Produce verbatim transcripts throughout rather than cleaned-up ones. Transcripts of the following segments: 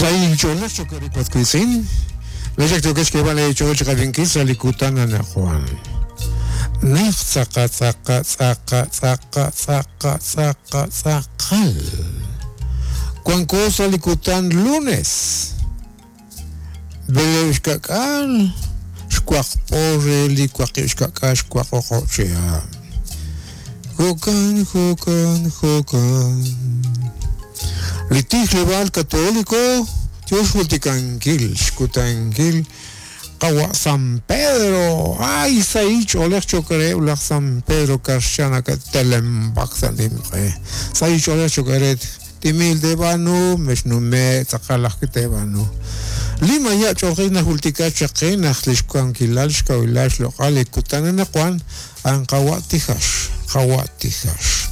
Sayin cholach chokorikuatkuitzin. Lechak tokechkebale cholchkabinkisa likutana na Juan. Nech tzaka tzaka tzaka tzaka tzaka tzaka tzakal. Cuancosa likutan lunes. Beleushkakal. Xkuakpore likuakishkaka xkuakokochea. Jokan, jokan, jokan. Litijlebal católico, Dios multicanquil, xkutankil, Kawa San Pedro, ay saich olech chokere ulach San Pedro karshana katelembak salimre. Saich olech chokere timil de banu, meshnume, tzakalach kitebanu. Lima ya chokina hultika chakina, lishkuankilal, shkawilash, lokal, kutanana kwan, ang kawatihash, kawatihash.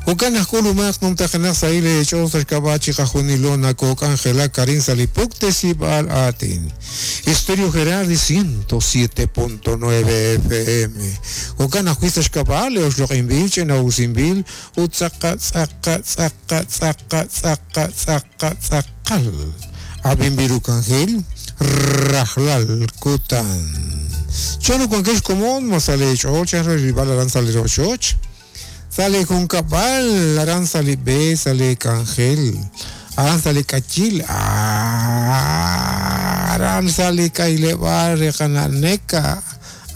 Ukan kulumak num takana sa ile chosas kabachi kajunilona kok Angela Karin Salipuk tesibal atin. Estéreo Gerardi ciento siete punto nueve F M. Ukan ajuistas kabale osloqinbil chenausimbil utzaka tzaka tzaka tzaka tzaka tzaka tzakal. Abimbirukanjil rajlal kutan. Chano kuankesh komon masale choch rival aranzale rochoch. Sale con cabal, aranza le be, sale cangel, aranza le cachil, aranza le cailevar, recananeca,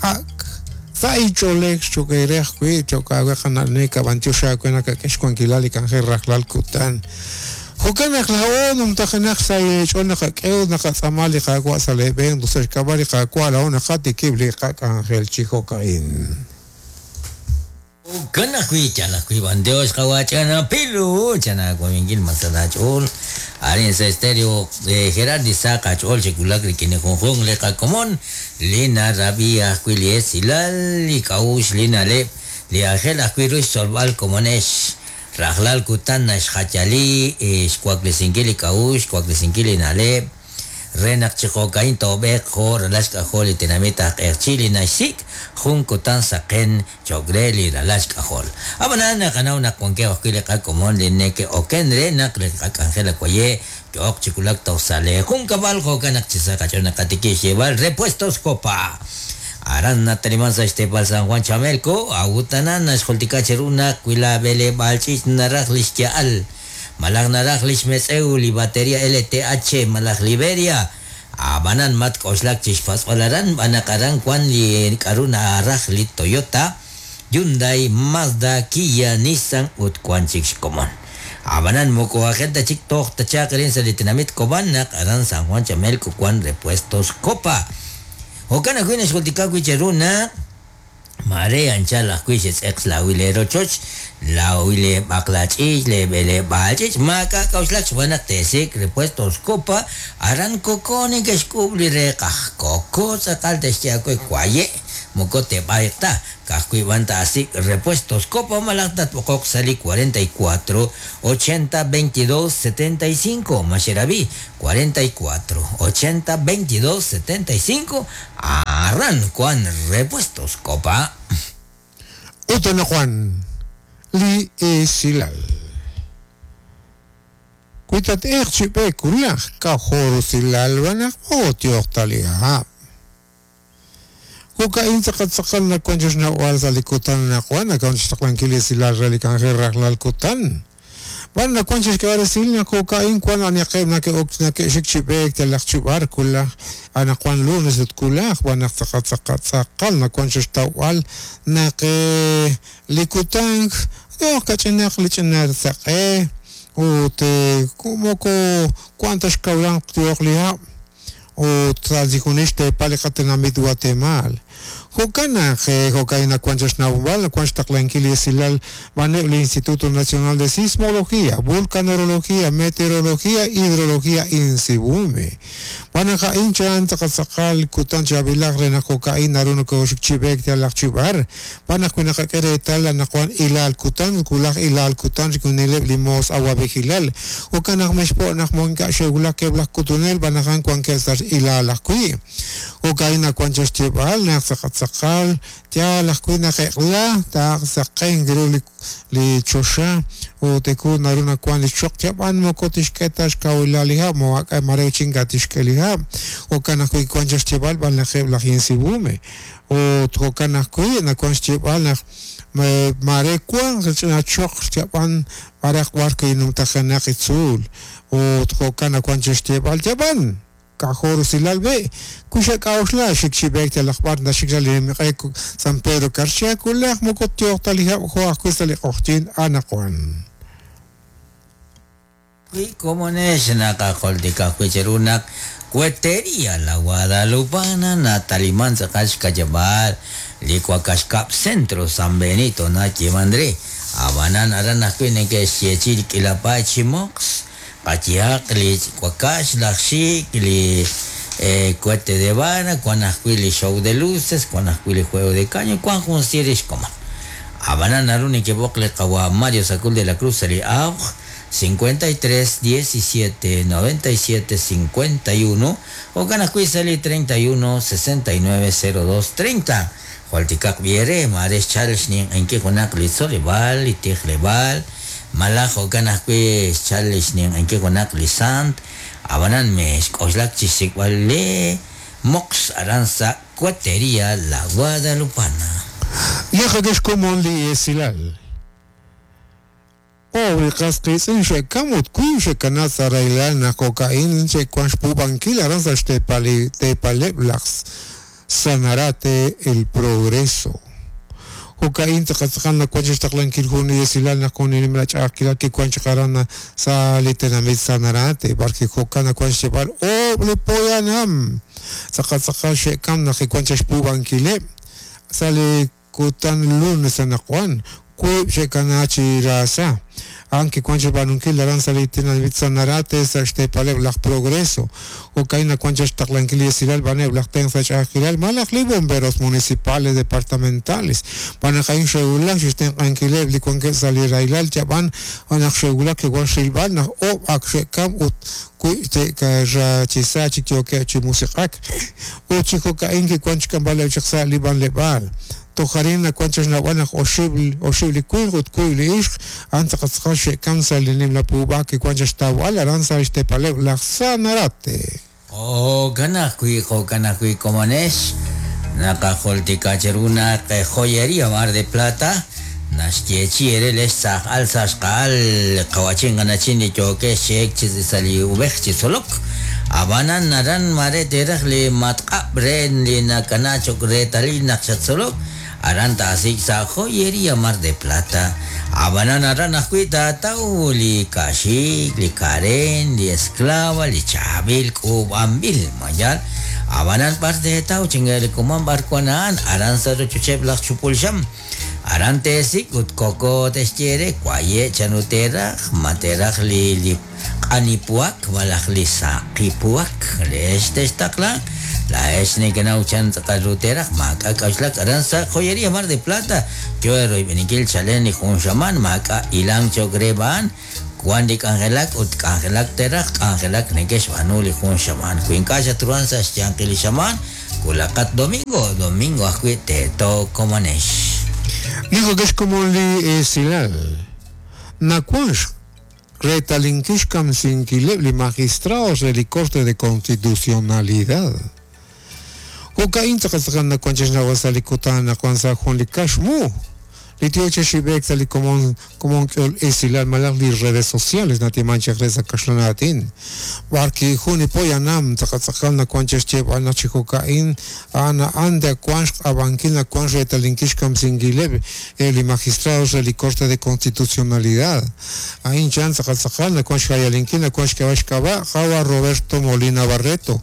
ak, sai cholek, choquerej, chocahuecananeca, bantiosha, cuenaca, quechcuanquilal y cangel, rajlal cutan. Jocanak la onum tajanak sai chonaka keunaka zamali jagua sale ben, dulce cabal y jacuala, una jati kibli, cangel, chijocaín. Kanakui chanakui bandeos kawachana pilu chanakui masanachol arin sa estéreo de Gerardi Saca chol chikulak rikine jonjon leka komon lina rabia kuili silal kaush lina le li angel akuiru solval komonesh rajlal kutan xachali xkuaklesinkili kaush kuaklesinkili nale renak chijokain tobek jor lashka jol tenamita erchili nashik junkutan saqen chogreli lashka jol abanana kanau na konke okile ka komon lineke okenre nak le angela koye ok chikulak tosale junkabal jokanak chisaka chona katiki lleval repuestos copa aran natalimansa este pal San Juan Chamelco agutanana xoltika cheruna kuila bele balchich naraj lishkial Malag naraj lishmeseu li batería L T H malag Liberia abanan mat koslak chishpas olaran banakaran kwan li karuna araj li Toyota Hyundai Mazda Kia Nissan ut kwan chik komon abanan moko agenda chik toh tachakirin sa litinamit kobanak aran San Juan Chamelco kwan repuestos copa okana kuina xoltika kuicheruna Mare ancha la kuiches ex la wilero choch la wile baklach le bele bachich maka kauslach buena tesik repuestos copa aran kokone que skubli rekaj koko sakal testia kuaye mokote baita kakui banta así repuestos copa malakta pokok sali cuarenta y cuatro ochenta veintidós setenta y cinco Masherabi cuarenta y cuatro ochenta veintidós setenta y cinco arran Juan repuestos copa. Utana Juan li esilal. Kuitat erchipe kulaj kajoro silal banaj otiohtalia. Kuka intzakatzakal na kwanchos na ualza likutan na Juan, kaunchos taklankilis silal relikanjer rajlal kutan. Van na kwanchos que varesil na kuka in kwan aniaqeb na ke ok na ke xikchipek telachchubar kulaj ana Juan lunes ut kulaj van tzakatzakatzakal na kwanchos tawal na ke likutan no kachinak lichinar tzaqe ut kumoko cuantas kaulan tioqlia o tradicionista palikatenamit Guatemala. Jokana, jokaina cuanchas nahual, cuanchas taclanquili silal, el Instituto Nacional de Sismología, Vulcanología, Meteorología, Hidrología, Insibume. Banaja inchan, takatzakal, kutancha bilagre, na jokaina, runuko, chibek, talachchibar, banajuina queretal, anajuan ilal kutan, kulaj ilal kutan, rikunileb limos, agua vigilal, okanaj meshpo, najmonka, shegula, keblaj kutunel, banajan cuanquesar ilal ajui. Jokaina cuanchas chibal, naxacatzakal, tzaqatzaqal yaal ajwi' naq eq'la taaq saqenk ru li li choxa ut eku naru nawan li choq yab'an moko tixk'e ta xkawilal li hab' moak'a mare chinka tixk'e li hab' jo'kan ajwi' wan chaq xyeb'al b'an lajeb' laj Insibume ut jo'kan ajwi' nawan xyeb'al naq mare wan ch'ina choq yab'an b'araq b'ar kinumtajenaq itzuul ut jo'kan nawan chaq xyeb'al yab'an kajo rusilal be kuxa k'a'uxla xik xib'ek yalaq b'ar naxik sa li miq'e San Pedro Carchá kulaj moko tioq ta li hab' jo ajwi' sa li q'oqyin anaqwan. Wi komonex naqajultika ajwi' cheru naq Cuetería La Guadalupana nataliman tz'aqal xkayab'al li Cuacaxcab Centro San Benito nayeman re abanan aran ajwi' neke'xyechi li k'ilapay chi moqs qayehaq li Cuacax laj xik li eh, cohete de vara wan ajwi' li show de luces wan ajwi' li juego de caño wan jun sir xkomon abanan naru nekeb'oq li qawa Mario Sacul de la Cruz li awj cincuenta y tres diecisiete noventa y siete cincuenta y uno jo'kan ajwi' sa li treinta y uno sesenta y nueve cero dos treinta joltikaq b'iere mare xchal xninq'inki junaq li tzoleb'al li tijleb'al malaj jo'kan ajwi' xchal xninq'inki junaq li sant abanan mexk'oxlak chi xsik'b'al li moqs aran sa Cuetería La Guadalupana. Yaqakex komon li esilal Pobre qasqitz'in xe'kam ut kuy xe'kana sa raylal naq jo'ka'in xe'kuan xpuub'ankil aran sa xtepali tepaleb' laj Sanarate El Progreso. Jo'ka'in tzaqatzaqal nakuan xtaqlankil jun li esilal naq jun nimla ch'a'ajkilal kikuan chaq aran sa li tenamit Sanarate barki jo'kan nakuan xyeb'al oob' li poyanam tzaqatzaqal xe'kam naq kikuan chaq xpuub'ankileb' sa li kutan lunes anaqwan kuib' xe'kana chi raasa aunque kuan xb'aanunkil aran sa li tenamit Sanarate sa xtepaleb' laj Progreso jo'kan nakuan chaq xtaqlankil li esilal b'aneb' laj tenq sa ch'a'ajkilal malaj li bomberos municipales departamentales b'anaq a'in xe'wulak xtenq'ankileb' li wankeb' sa li raylal yab'an naq xe'wulak ke'wan xrilb'al naq oob' ak xe'kam ut kuy te'rachisa chik yookeb' chi musiq'ak ut chi jo'ka'in kikuan xk'amb'aleb' chaq sa li b'anleb'aal tojarin nakuan chaq xnawb'al naq oxib' oxib' li winq ut kuy li ixq a'an tzaqatzaqal xe'kam sa li nimla puub'aj kikuan chaq xtawb'al aran sa xtepaleb' laj Sanarate. Jo'kan ajwi' jo'kan ajwi' komonex naqajultika cheru naq Joyería Mar de Plata naxyechi ere lex tzaj'al sa xqa'al qawachin qanachin li yookex xe'ek chi sa li ub'ej chi tzolok abanan naran mare teraj li matq'ab' re li nakana choq retalil naq xatzolok aran taasik sa Joyería Mar de Plata abanan aran ajwi' taataw li kaxik li karen li esclava li chaab'il k'uub'anb'il mayal abanan b'ar teetaw chinga li kuman b'ar wan a'an aran sa rochocheb' laj Chupulxam aran teesik ut koko texyere waye' chanu teraj ma teraj li li q'anipuak malaj li saqipuak lex textaqla laex nekenaw chan tz'aqal ru teraj maak'a k'a'uxlak aran sa Joyería Mar de Plata yo royb'enikil chalen li jun xaman maak'a ilang choq re b'an wan li k'anjelak ut k'anjelak teraj k'anjelak neke'xb'aanu li jun xaman wi ink'a' xatruhan sa xyanqil li xaman kulaqat domingo domingo ajwi' teeto komonex. Dijo que es como li esilal nakuan retalinkix kamsinkileb' li magistrados de li Corte de Constitucionalidad jo'ka'in tzaqatzaqal nakuan chaq xnawb'al sa li kutan nakuan sa jun li kaxmu li tio chaq xib'ek sa li komon komon k'ol esilal malaj li redes sociales natiman chaq re sa kaxlan aatin barki jun li poyanam tzaqatzaqal nakuan chaq xyeb'al naq chi jo'ka'in a'an a'an kuan xq'ab'ankil nakuan retalinkix kamsinkileb' li magistrados de li Corte de Constitucionalidad a'in chan tzaqatzaqal nakuan xjayalinkil nakuan xk'ab'a xk'ab'a jawa Roberto Molina Barreto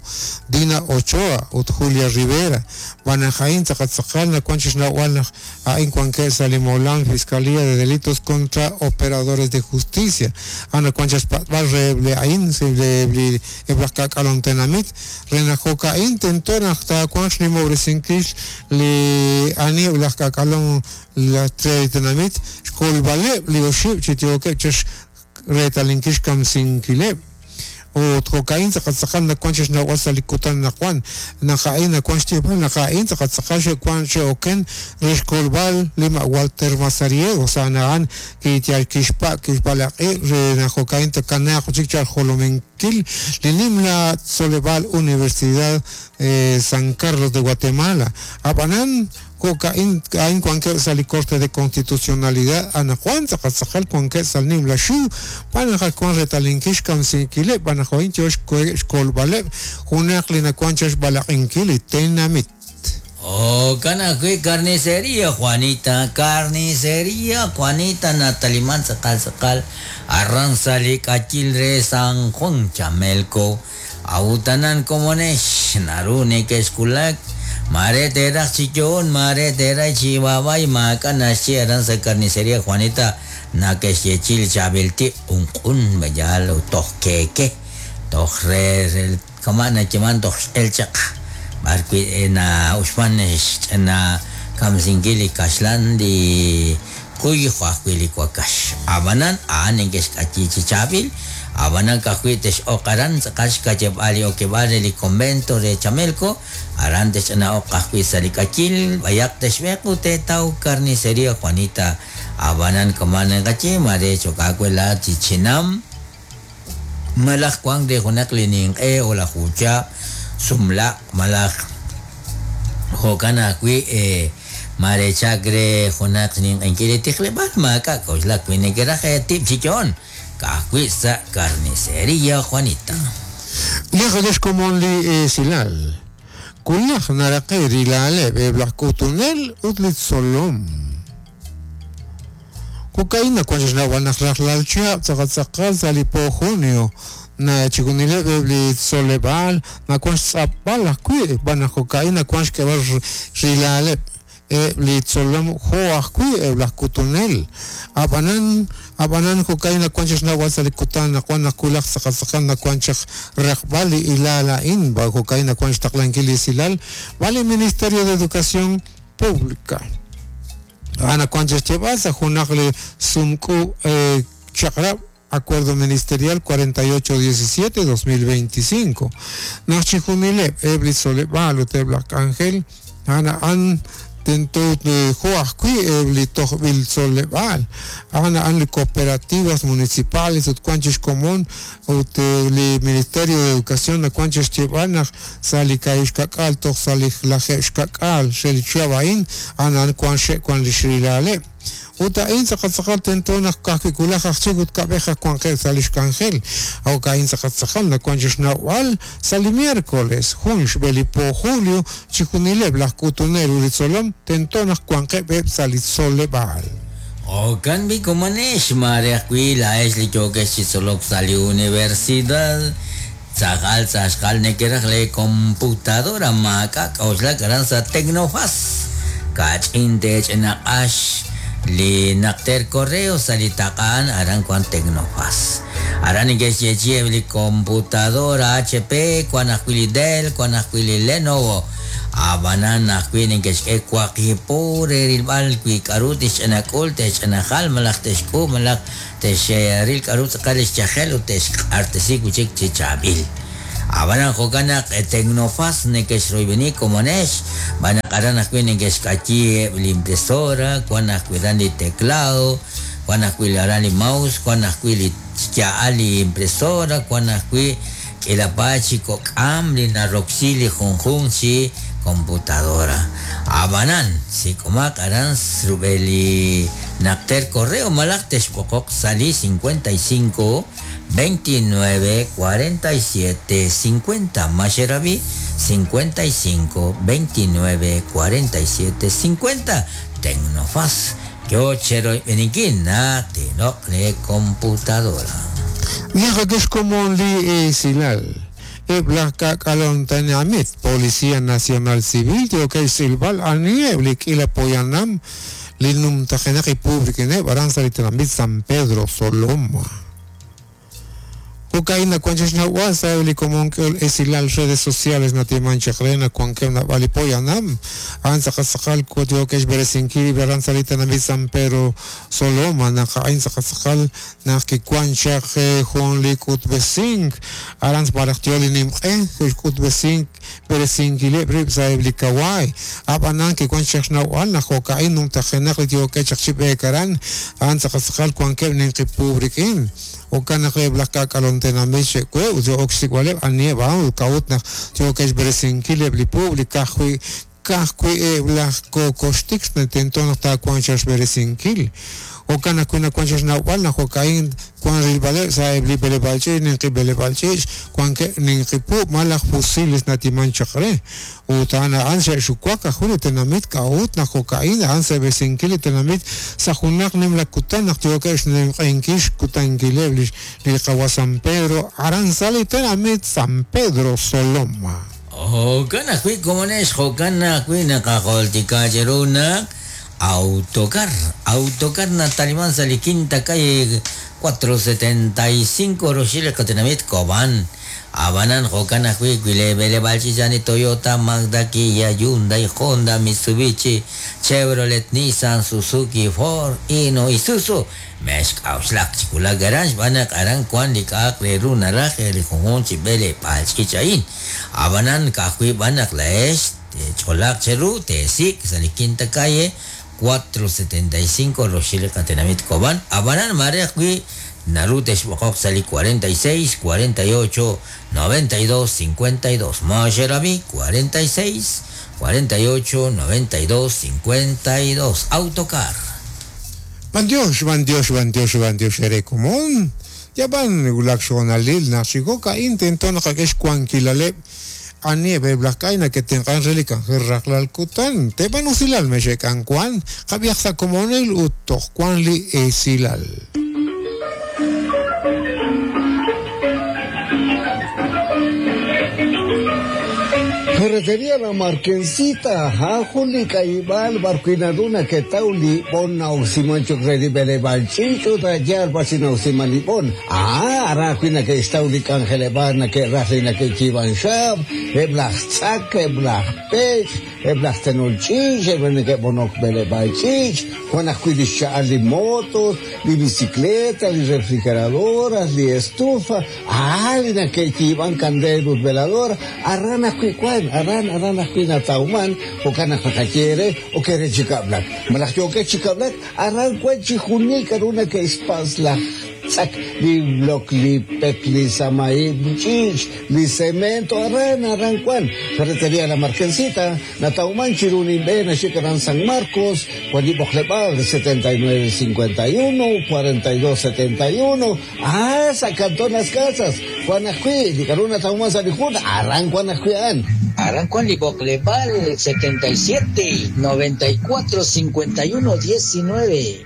Dina Ochoa ut Julia Rivera b'anaj a'in tzaqatzaqal nakuan chaq xnawb'al naq a'in wankeb' sa li Molan, Fiscalía de Delitos contra Operadores de Justicia. Ana kuan chaq xpatb'al reheb' li a'in li eb' laj k'ak'alon tenamit re naq jo'ka'in tento naq taawanq xnimob'resinkil li ani eb' laj k'ak'alon la tenamit xkolb'aleb' li oxib' chi yookeb' chaq retalinkil xkamsinkileb' Ut jo'ka'in tz'aqal nawan xnawb'al sa' li kutan nawan naq a'in nawan xyeeb'al naq a'in tz'aqal tz'aqal xe'wan xe'oken re xkolb'al li ma' Walter Mazariegos a'an kiyal kixpa' kixb'alaq'i re naq jo'ka'in takanaaq chik chal jolominkil li nimla tzoleb'al Universidad eh, San Carlos de Guatemala ab'anan jo'ka'in a'in wankeb' sa' li Corte de Constitucionalidad anaqwan tz'aqal tz'aqal wankeb' sa' li nimla xiw b'anaq wan retalinkil xkamsinkileb' b'anaq jo'in yo xkolb'aleb' junaq li nawan xb'alaq'inkil li tenamit. Oh, kanakui carnicería Juanita, carnicería Juanita Nataliman tz'aqal tz'aqal arran sa' li k'achil re San Juan Chamelco awutanan komonex naru nekexkulak mare teraj chichon mare teraj chibabay maaka naxchi aran sa carnicería Juanita nakexyechil chabelti unq'un bayal toj keke toj re kama nachiman toj x'elchaq barkwi na uxman na kamsinkil li kaxlan li kuy juajwi li kuakax abanan aan nenkexk'achi chichabil abanan kajwi tex'oqaran tz'aqal xkacheb'al li okeb'al re li convento re Chamelco aran texch'ana'oq kajwi sa' li k'achil bayaq texb'eq ut teetaw carnicería Juanita abanan kamanan kachi mare chok'akuela chichinam malaj kuang de junaq li ninq'e o la jucha sumla malaj jo'kan ajwi' eh, mare chakre junaq ninq'enkil li tijleb'al maak'a k'oxlak wi nekeraj tib' chichon kajwi' sa' carnicería Juanita. Liqadex komon li esilal kulaj naraqi rilaleb eblaj k'utunel ut li tzolom Kokaina wan xnawb'al naq rajlal chihab' tz'aqal tz'aqal sa' li po junio na chikunileb' li tzoleb'al nawan xtz'apb'al ajwi' b'anaq jo'ka'in nawan xk'eb'al rilaleb' li tzolom jo' ajwi' eb' laj k'utunel ab'anan ab'anan jo'ka'in nawan xnawb'al sa' li kutan nawan naq kulaj tz'aqal tz'aqal nawan chaq raqb'al li ilal a'in jo'ka'in nawan xtaqlankil li esilal b'al li Ministerio de Educación Pública ana wan xyeeb'al sa' junaq li sumk'u chaqrab' Acuerdo Ministerial cuarenta y ocho diecisiete dos mil veinticinco naq chijunileb' eb' li tzoleb'al ut eb' laj k'anjel ana an tento jo' ajwi' eb' li tojb'il tzoleb'al ana an li cooperativas municipales ut wan chixkomon ut li Ministerio de Educación nawan chixyeeb'al naq sa' li ka'ix kak'al toj sa' li lajeeb' xkak'al xe li chihab' a'in ana an wan xe' wan li xrilaleb' ut a'in tz'aqal tz'aqal tento naq kajwi' kulaj aj chik ut kab'ej aj wanqeb' sa' li xk'anjel jo'ka'in tz'aqal tz'aqal nawan chixnawb'al sa' li miércoles jun xb'e li po julio chijunileb' laj k'utunel ut li tzolom tento naq wanqeb' eb' sa' li tzoleb'al. Jo'kan b'i komonex mare ajwi' la'ex li yookex chi tzolok sa' li universidad tz'aqal tz'axqal nekeraj le computadora maak'a k'oxlak aran sa' Tecnofaz kach'in tech'enaq'ax li naqter correo sa' li taq'an aran wan Tecnofaz aran neke'xyeechi'eb' li computadora H P wan ajwi' li Dell wan ajwi' li Lenovo ab'anan ajwi' neke'xk'e waqib' re rilb'al wi k'aru tixch'anak'ul texch'anajal malaj texk'u malaj texril k'aru tz'aqal li xchajel ut texq'artesi wi' chik chi chaab'il ab'anan jo'kan naq Tecnofaz neke'xroyb'eni komonex b'anaq aran ajwi' neke'xk'ayi li impresora wan ajwi' aran li teclado wan ajwi' aran li mouse wan ajwi' li xya'al li impresora wan ajwi' k'ilapa chi kok'am li naroksi li junjun chi computadora ab'anan sik'umaq aran rub'el li naqter correo malaj texb'oqoq sa' li cincuenta y cinco veintinueve cuarenta y siete cincuenta Maxerabi cincuenta y cinco veintinueve cuarenta y siete cincuenta Tecnofaz yo chero beniquina tino le computadora. Mira que es como li esilal eb' laj k'ak'alon tenamit Policía Nacional Civil yo que silbal anieb li k'ila poyanam li numtajenaq y público aran sa' li tenamit San Pedro Soloma. Jo'ka'in nawan chaq xnawb'al sa' li komon k'ol esilal redes sociales natiman chaq re nawankeb' nab'al li poyanam a'an tz'aqal tz'aqal yookeb' xb'eresinkil aran sa' li tenamit San Pedro Soloma naq a'in tz'aqal tz'aqal naq kiwan chaq jun li k'utb'esink aran b'araj yo li nimq'e xk'utb'esink b'eresinkileb' rib' sa' eb' li kawaay ab'anan kiwan chaq xnawb'al naq jo'ka'in numtajenaq li yookeb' chaq chi b'eek aran a'an tz'aqal tz'aqal wankeb' ninqi puub' rik'in jo'kan naq eb' laj k'ak'alom tenamit xe'we ut yo'ok xsik'b'aleb' aniheb' a'an ut k'a'ut naq yookeb' xb'eresinkil eb' li puub' li ka'ajwi' ka'ajwi' eb' laj kokoxtik tento naq taawanq chaq xb'eresinkil jo'kan ajwi' nawan chaq xnawb'al naq jo'ka'in wan rilb'aleb' sa' eb' li b'eleb'aal ch'iich' ninqi b'eleb'aal ch'iich' wankeb' ninqi puub' malaj fusiles natiman chaq re ut a'an a'an xe'xuwak ajwi' li tenamit k'a'ut naq jo'ka'in a'an seb'esinkil li tenamit sa' junaq nimla kutan naq yookeb' xnimq'enkil xkutankileb' li li qawa San Pedro aran sa' li tenamit San Pedro Soloma. Jo'kan ajwi' komonex jo'kan ajwi' naqajoltika cheru naq Autocar, Autocar nataliman sa' li quinta calle cuatro setenta y cinco roxil qatenamit Cobán. Abanan jo'kan ajwi' wi le b'eleb'aal ch'iich' Toyota, Mazda, Kia, Hyundai, Honda, Mitsubishi, Chevrolet, Nissan, Suzuki, Ford, Hino, Isuzu. Mexk'a'uxlaq chi wulak aran xb'aan naq aran wan li k'a'aq re ru naraj li junjunq chi b'eleb'aal ch'iich' a'in. Abanan ka'ajwi' b'an naq la'ex ch'olaq cheru teesik' sa' li quinta calle cuatro setenta y cinco roxil qatenamit Cobán. Abanan mare ajwi' naru texb'oqoq sa' li cuarenta y seis, cuarenta y ocho, noventa y dos, cincuenta y dos. Moxerabi cuarenta y seis, cuarenta y ocho, noventa y dos, cincuenta y dos. Autocar. Van Dios, van Dios, van Dios, van Dios, ere común. Ya van wulak xonalil naq chi jo'ka'in tento naqak'e xwankilaleb' ani eb' laj k'ay nake'tenq'an re li k'anjel rajlal kutan teb'an usilal mexek'an wan qab'iaq sa' komonil ut toj wan li esilal. Ferretería La Marquesita, Juli Caibal, Barquinaduna, que tauli, bona oximancho credible balchicho, tayar, basina oximalibón. Ah, arajina que estauli cangelebana, que rajina que chivan shab, eblach eblach pech, eblach tenolchich, ebene bonok bele balchich, Juan ajuilisha li motos, li bicicleta, li refrigeradoras, li estufa, ah, li que chivan candelos velador, arrana cuicuan. Aran aran ajwi' natawman jo'kan naq naqaye o kere chikablak malaj yookeb' chikablak aran wan chi junil k'aru nake'xpas laj tz'ak li bloc li pek li samaib li ch'iich li cemento aran aran wan Ferretería La Marquesita natawman chiru ninb'e naxik aran San Marcos wan li b'oqleb'aal setenta y nueve cincuenta y uno cuarenta y dos setenta y uno ah sa Cantón Las Casas wan ajwi' li k'aru natawman sa' li jun aran wan ajwi' a'an Aran wan li b'oqleb'aal setenta y siete, noventa y cuatro, cincuenta y uno, diecinueve.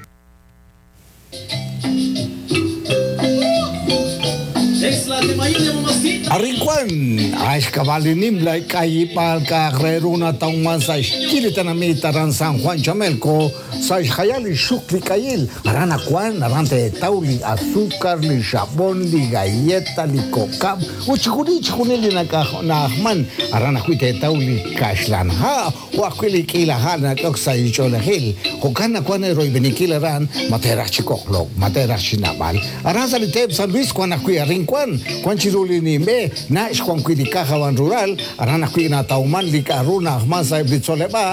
Arrincuan, Ashkabalinimla, Kayipal, Carreruna, Tauman, Saishkiritanamita, Ran San Juan Chamelco, Saishayali, Shukli, Kayil, Arana Juan, Arante, Tauli, Azúcar, Li Jabón, Li Galleta, Li Cocab, Uchikuni, Chikunili, Nakahman, Arana Juite, Tauli, Kashlan, Ha, Huaquili, Kilahana, Coxa y Cholejil, Jocana, Juan, Heroi, Beniquil, Aran, Matera, Chicoclo, Matera, Chinabal, Aran Salitep, San Luis, Juan, Ajuy, Arrincuan, Juan Chiruli, Nimbe, Nash, Juan Cuidicaja, Van Rural, Arana Cuina, Tauman, Licaruna, Ahman, Saib, Litzoleba,